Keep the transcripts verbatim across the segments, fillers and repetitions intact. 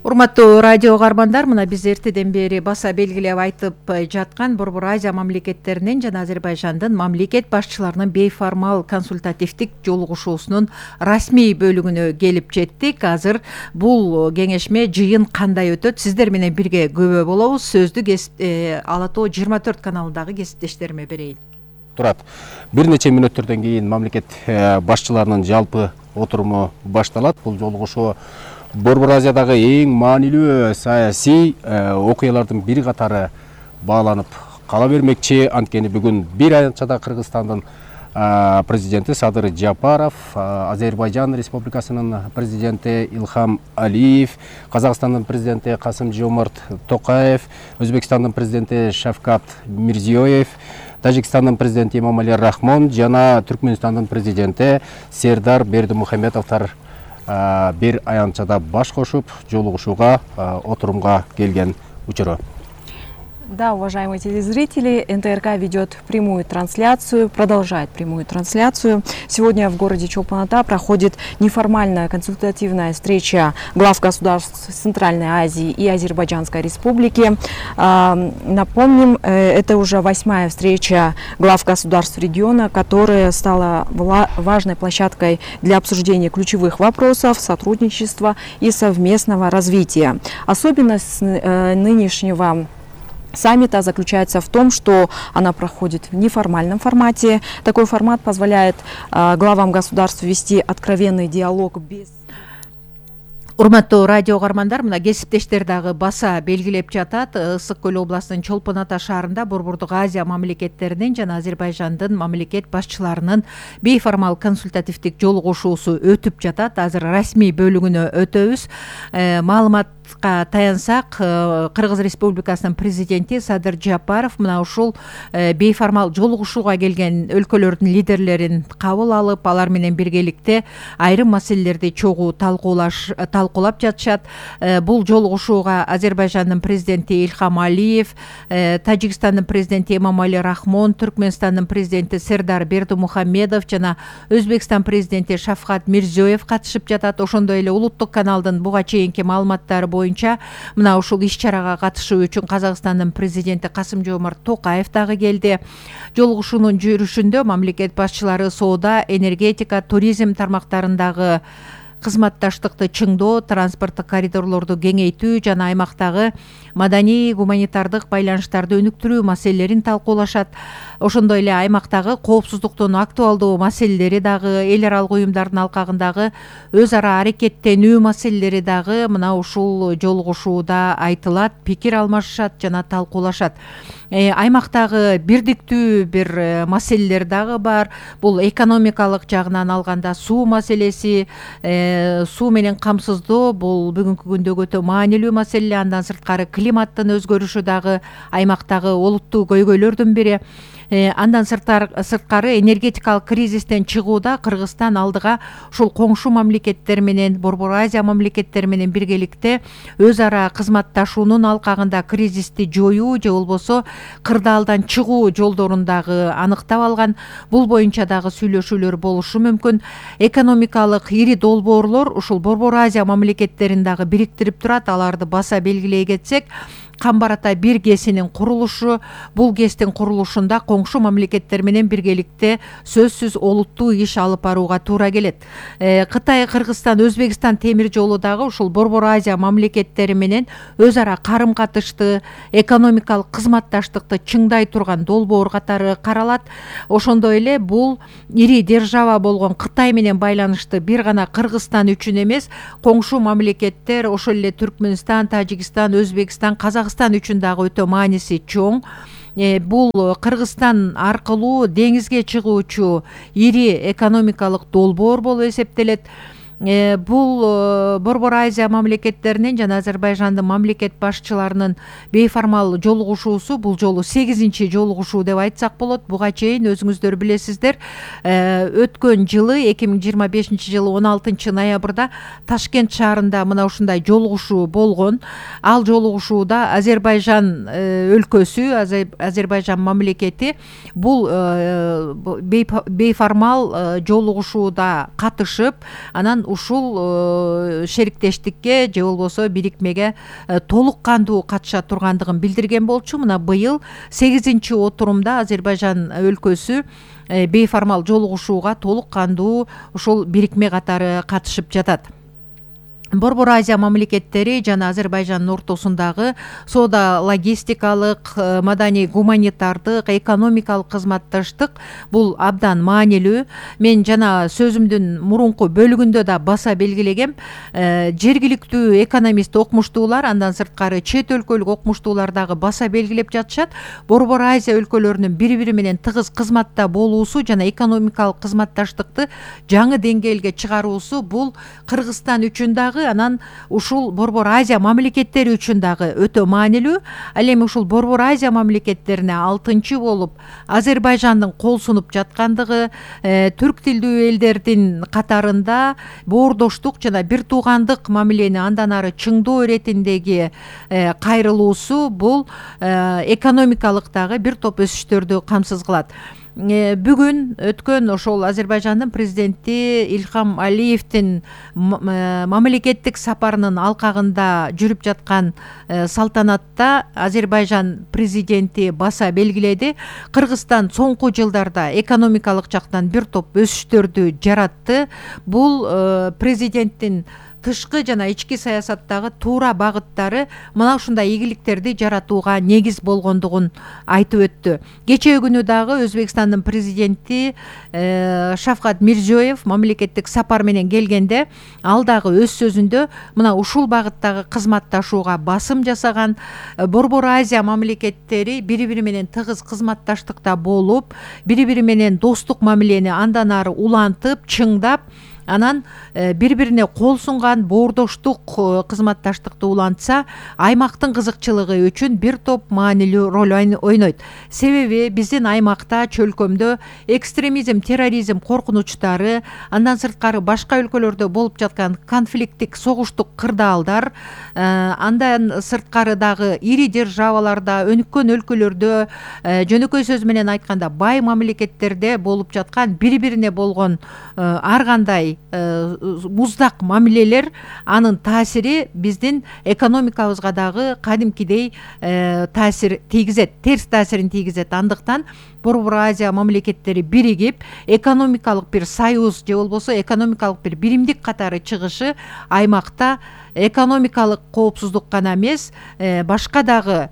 Урматтуу радио каармандар, мына биз эртеден бери баса белгилеп айтып жаткан Борбор Азия мамлекеттеринин жана Азербайжандын мамлекет башчыларынын бейформал консультативдик жолугушуусунун расмий бөлүгүнө келип жеттик. Азыр бул кеңешме жыйын кандай өтөт? Сиздер менен бирге күбө болобуз. Сөздү Ала Тоо жыйырма төрт каналындагы кесиптештериме берейин. Турат. Бир нече мүнөттөрдөн кийин мамлекет башчыларынын жалпы отуруму башталат. Бул жолугушуу Борбор Азиядагы эң маанилүү саясий окуялардын бир катары бааланып кала бермекчи. Анткени бүгүн бир аянтчада Кыргызстандын президенти Садыр Жапаров, Азербайжан Республикасынын президенти Илхам Алиев, Казакстандын президенти Касым-Жомарт Токаев, Өзбекстандын президенти Шавкат Мирзиёев, Тажикстандын президенти Эмомали Рахмон жана Түркмөнстандын президенти Сердар Бердимухамедовдор бир аянтчада баш кошуп жолугушууга отурумга келген учуру. Да, уважаемые телезрители, эн тэ эр ка ведет прямую трансляцию, продолжает прямую трансляцию. Сегодня в городе Чолпон-Ата проходит неформальная консультативная встреча глав государств Центральной Азии и Азербайджанской Республики. Напомним, это уже восьмая встреча глав государств региона, которая стала важной площадкой для обсуждения ключевых вопросов сотрудничества и совместного развития. Особенность нынешнего саммита заключается в том, что она проходит в неформальном формате. Такой формат позволяет э, главам государств вести откровенный диалог без... Урматтуу радио каармандар, мына кесиптештер дагы баса белгилеп жатат. Ысык көл областынын Чолпон-Ата шаарында Борбордук Азия мамлекеттеринин жана Азербайжандын мамлекет башчыларынын бейформал консультативдик жолугушуусу өтүп жатат. Азыр расмий бөлүгүнө өтөбүз. Маалыматка таянсак, Кыргыз Республикасынын президенти Садыр Жапаров мына ушул бейформал жолугушууга келген өлкөлөрдүн лидерлерин кабыл алып, алар менен биргеликте айрым маселелерди чогуу талкуулаш талкуулап жатышат. Бул жолугушууга Азербайжандын президенти Илхам Алиев, Тажикстандын президенти Эмомали Рахмон, Түркмөнстандын президенти Сердар Бердимухамедов жана Өзбекстан президенти Шавкат Мирзиёев катышып жатат. Ошондой эле улуттук каналдын буга чейинки маалыматтары боюнча мына ушул иш-чарага катышуу үчүн Казакстандын президенти Касым-Жомарт Токаев дагы келди. Жолугушуунун жүрүшүндө мамлекет башчылары соода, энергетика, туризм тармактарындагы кызматташтыкты чыңдоо, транспорттук коридорлорду кеңейтүү жана аймактагы маданий гуманитардык байланыштарды өнүктүрүү маселелерин талкуулашат. Ошондой эле аймактагы коопсуздуктун актуалдуу маселелери дагы, эл аралык уюмдардын алкагындагы өз ара аракеттенүү маселелери дагы мына ушул жолугушууда айтылат, пикир алмашышат жана талкуулашат. Аймактагы бирдиктүү бир маселелер дагы бар. Бул экономикалык жагынан алганда суу маселеси, суу менен камсыздоо бул бүгүнкү күндөгү өтө маанилүү маселе. Андан сырткары климаттын өзгөрүшү дагы аймактагы олуттуу көйгөйлөрдүн бири. Андан сырткары энергетикалык кризистен чыгууда Кыргызстан алдыга ушул коңшу мамлекеттер менен, Борбор Азия мамлекеттери менен биргеликте өз ара кызматташуунун алкагында кризисти жоюу же болбосо кырдаалдан чыгуу жолдорун дагы аныктап алган. Бул боюнча дагы сүйлөшүүлөр болушу мүмкүн. Экономикалык ири долбоорлор ушул Борбор Азия мамлекеттерин дагы бириктирип турат. Аларды баса белгилей кетсек, Камбар Ата бир ГЭСинин курулушу, бул ГЭСтин курулушунда коңшу мамлекеттер менен биргеликте сөзсүз олуттуу иш алып барууга туура келет. Кытай, Кыргызстан, Өзбекстан темир жолу дагы ушул Борбор Азия мамлекеттери менен өз ара карым-катышты, экономикалык кызматташтыкты чыңдай турган долбоор катары каралат. Ошондой эле бул ири держава болгон Кытай менен байланышты бир гана Кыргызстан үчүн эмес, коңшу мамлекеттер, ошол эле Түркмөнстан, Тажикстан, Өзбекстан, Казакстан үчүн дагы өтө мааниси чоң. Бул Кыргызстан аркылуу деңизге чыгуучу ири экономикалык долбоор болуп эсептелет. Бул Борбор Азия мамлекеттеринин жана Азербайжандын мамлекет башчыларынын бейформал жолугушуусу бул жолу сегизинчи жолугушуу деп айтсак болот. Буга чейин өзүңүздөр билесиздер, өткөн жылы эки миң жыйырма бешинчи жылы он алтынчы ноябрда Ташкент шаарында мына ушундай жолугушуу болгон. Ал жолугушууда Азербайжан өлкөсү, Азербайжан мамлекети бул бейформал жолугушууда катышып, анан ушул шериктештикке же болбосо бирикмеге толук кандуу катыша тургандыгын билдирген болчу. Мына быйыл сегизинчи отурумда Азербайжан өлкөсү бейформал жолугушууга толук кандуу ушул бирикме катары катышып жатат. Борбор Азия мамлекеттери жана Азербайжандын ортосундагы соода логистикалык, маданий гуманитардык, экономикалык кызматташтык бул абдан маанилүү. Мен жана сөзүмдүн мурунку бөлүгүндө да баса белгилегем, жергиликтүү экономист окумуштуулар, андан сырткары чет өлкөлүк окумуштуулар дагы баса белгилеп жатышат. Борбор Азия өлкөлөрүнүн бири-бири менен тыгыз кызматта болуусу жана экономикалык кызматташтыкты жаңы деңгээлге чыгаруусу бул Кыргызстан үчүн дагы, анан ушул Борбор Азия мамлекеттери үчүн дагы өтө маанилүү. Ал эми ушул Борбор Азия мамлекеттерине алтынчы болуп Азербайжандын кол сунуп жаткандыгы, түрк тилдүү элдердин катарында боордоштук жана бир туугандык мамилени андан ары чыңдоо иретиндеги кайрылуусу бул экономикалык дагы бир топ өсүштөрдү камсыз кылат. Бүгүн өткөн ошол Азербайжандын президенти Илхам Алиевдин мамлекеттик сапарынын алкагында жүрүп жаткан салтанатта Азербайжан президенти баса белгиледи, Кыргызстан соңку жылдарда экономикалык жактан бир топ өсүштөрдү жаратты. Бул президенттин тышкы жана ички саясаттагы туура багыттары мына ушундай ийгиликтерди жаратууга негиз болгондугун айтып өттү. Кечээ күнү дагы Өзбекстандын президенти Шавкат Мирзиёев мамлекеттик сапар менен келгенде, ал дагы өз сөзүндө мына ушул багыттагы кызматташууга басым жасаган, Борбор Азия мамлекеттери бири-бири менен тыгыз кызматташтыкта болуп, бири-бири менен достук мамилени андан ары улантып, чыңдап, анан бири-бирине кол сунган боордоштук кызматташтыкты улантса, аймактын кызыкчылыгы үчүн бир топ маанилүү роль ойнойт. Себеби биздин аймакта, чөлкөмдө экстремизм, терроризм коркунучтары, андан сырткары башка өлкөлөрдө болуп жаткан конфликттик, согуштук кырдаалдар, андан сырткары дагы ири державаларда, өнүккөн өлкөлөрдө, жөнөкөй сөз менен айтканда бай мамлекеттерде болуп жаткан бири-бирине болгон ар кандай муздак мамилелер, анын таасири биздин экономикабызга дагы кадимкидей таасир тийгизет, терс таасирин тийгизет. Андыктан Борбор Азия мамлекеттери биригип, экономикалык бир союз же болбосо экономикалык бир биримдик катары чыгышы аймакта экономикалык коопсуздук гана эмес, башка дагы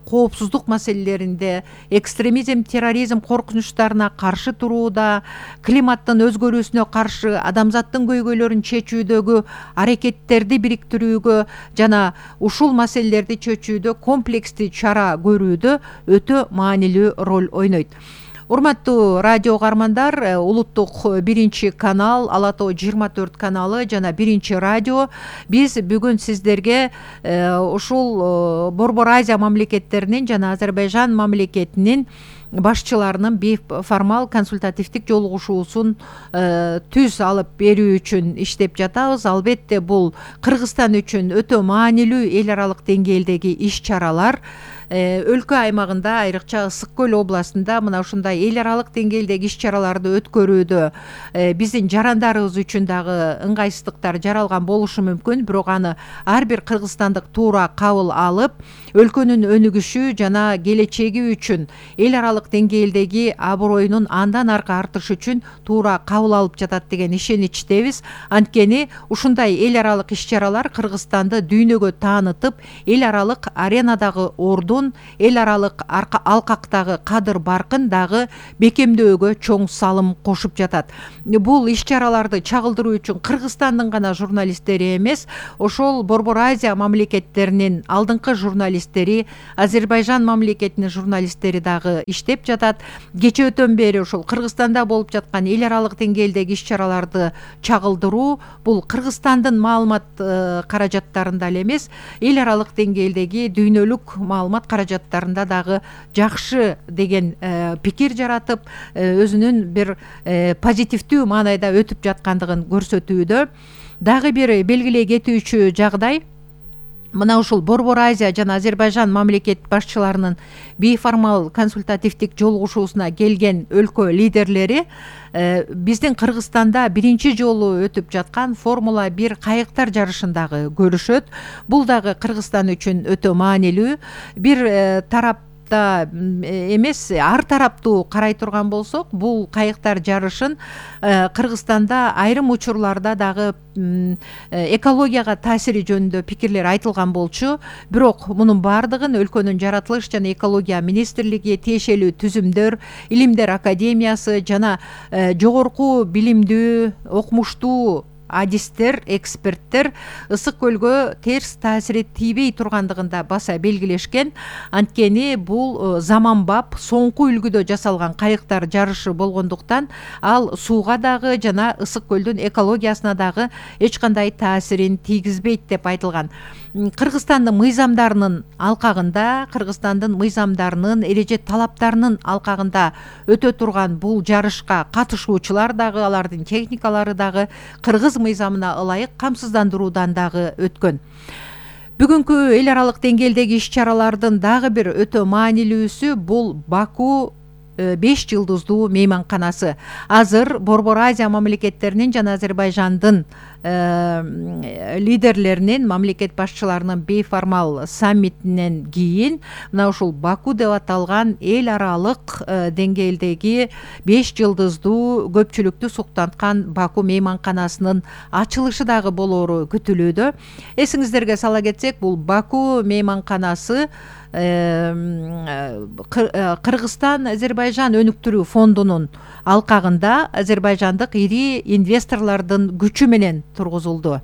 коопсуздук маселелеринде, экстремизм, терроризм коркунучтарына каршы турууда, климаттын өзгөрүүсүнө каршы адамзаттын көйгөйлөрүн чечүүдөгү аракеттерди бириктирүүгө жана ушул маселелерди чечүүдө комплекстүү чара көрүүдө өтө маанилүү роль ойнойт. Урматтуу радио угармандар, улуттук биринчи канал, Ала Тоо жыйырма төрт каналы жана биринчи радио биз бүгүн сиздерге ушул Борбор Азия мамлекеттеринин жана Азербайжан мамлекетинин башчыларынын бейформал консультативдик жолугушуусун түз алып берүү үчүн иштеп жатабыз. Албетте бул Кыргызстан үчүн өтө маанилүү эл аралык деңгээлдеги иш-чаралар. Өлкө аймагында, айрыкча Ысык көл областында мына ушундай эл аралык деңгээлдеги иш-чараларды өткөрүүдө биздин жарандарыбыз үчүн дагы ыңгайсыздыктар жаралган болушу мүмкүн, бирок аны ар бир кыргызстандык туура кабыл алып, өлкөнүн өнүгүшү жана келечеги үчүн, эл аралык деңгээлдеги аброюнун андан аркы артышы үчүн туура кабыл алып жатат деген ишеничтебиз. Анткени ушундай эл аралык иш-чаралар Кыргызстанды дүйнөгө таанытып, эл аралык аренадагы ордун, эл аралык алкактагы кадыр баркын дагы бекемдөөгө чоң салым кошуп жатат. Бул иш-чараларды чагылдыруу үчүн Кыргызстандын гана журналисттери эмес, ошол Борбор Азия мамлекеттеринин алдыңкы журналисттери, Азербайжан мамлекетинин журналисттери дагы иштеп жатат. Кечөөтөн бери ошол Кыргызстанда болуп жаткан эл аралык деңгээлдеги иш-чараларды чагылдыруу бул Кыргызстандын маалымат каражаттарында эле эмес, эл аралык деңгээлдеги дүйнөлүк маалымат каражаттарында дагы жакшы деген пикир жаратып, өзүнүн бир позитивдүү маанайда өтүп жаткандыгын көрсөтүүдө. Дагы бир белгилей кетүүчү жагдай, мына ушул Борбор Азия жана Азербайжан мамлекет башчыларынын бейформал консультативдик жолугушуусуна келген өлкө лидерлери биздин Кыргызстанда биринчи жолу өтүп жаткан Формула бир кайыктар жарышындагы көрүшөт. Бул дагы Кыргызстан үчүн өтө маанилүү. Бир тарап эмес, ар тараптуу карай турган болсок, бул кайыктар жарышын Кыргызстанда айрым учурларда дагы экологияга таасири жөнүндө пикирлер айтылган болчу. Бирок мунун баардыгын өлкөнүн жаратылыш жана экология министрлиги, тиешелүү түзүмдөр, илимдер академиясы жана жогорку билимдүү, окумуштуу адистер, эксперттер ысык көлгө терс таасири тийбей тургандыгында баса белгилешкен. Анткени бул заманбап, соңку үлгүдө жасалган кайыктар жарышы болгондуктан ал сууга дагы жана ысык көлдүн экологиясына дагы эч кандай таасирин тийгизбейт деп айтылган. Кыргызстандын мыйзамдарынын алкагында, Кыргызстандын мыйзамдарынын эреже талаптарынын алкагында өтө турган бул жарышка катышуучулар дагы, алардын техникалары дагы кыргыз мыйзамына ылайык камсыздандыруудан дагы өткөн. Бүгүнкү эл аралык деңгээлдеги иш-чаралардын дагы бир өтө маанилүүсү бул Баку беш жылдыздуу мейманканасы. Азыр Борбор Азия мамлекеттеринин жана Азербайжандын лидерлеринин, мамлекет башчыларынын бейформал саммитинен кийин мына ушул Баку деп аталган эл аралык деңгээлдеги беш жылдыздуу көпчүлүктү суктанткан Баку мейманканасынын ачылышы дагы болоору күтүлүүдө. Эсиңиздерге сала кетсек, бул Баку мейманканасы Кыргызстан Азербайжан өнүктүрүү фондунун алкагында азербайжандык ири инвесторлордун күчү менен тургузулду.